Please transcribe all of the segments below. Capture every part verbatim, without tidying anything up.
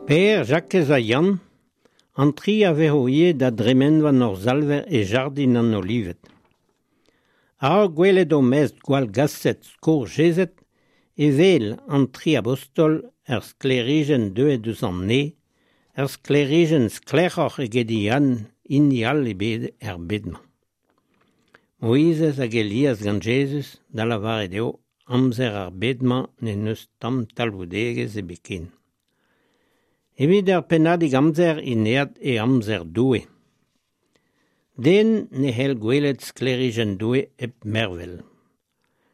Pêr, Jakez ha Yann, an tri a vezo ivez da dremenvan hor Salver e jardin an Olived. A-raok gwelet o mestr gwallgaset skourjezet e wel an tri abostol ur sklêrijenn deuet eus an neñv, ur sklêrijenn sklaeroc'h eget hini all ebet er bed-mañ. Moizez hag Elias gant Jezuz, da lavaret eo, amzer ar bed-mañ n'en deus tamm talvoudegezh ebet ken. Evit ur pennadig amzer int aet e amzer Doue. Den ne c'hell gwelet sklêrijenn Doue hep mervel.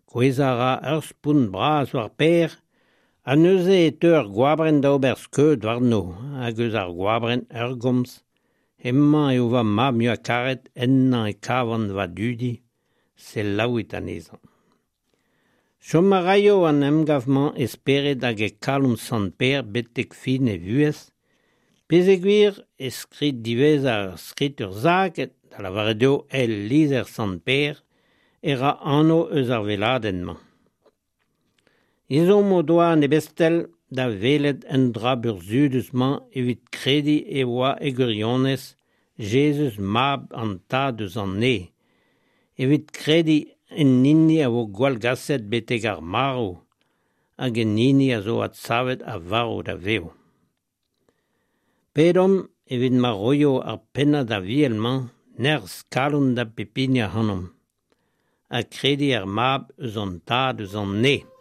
Kouezhañ a ra ur spont bras war Pêr, ha neuze e teu ur goabrenn da ober skeud warno, hag eus ar goabrenn ur gomz, hemañ eo va mab muiañ-karet, ennañ e kavan va dudi, selaouit anezhañ. Chom a raio an emgav-mañ e spered hag e kalon Sant Pêr betek fin e vuhez, peogwir e skrid diwezhañ ar skritur sakr, da lavaret eo eil lizher Sant Pêr, e ra anv eus ar weladenn-mañ. Ezhomm o doa an ebestel da welet an dra burzhudus-mañ evit krediñ e oa e gwirionez Jezuz mab an Tad eus an Neñv, evit krediñ en hini a vo gwallgaset betek ar marv hag en hini a zo adsavet a varv da vev. Pedomp evit ma roio ar pennad aviel-mañ nerzh kalon da bep hini ac'hanomp, ha krediñ er mab eus an Tad eus an Neñv.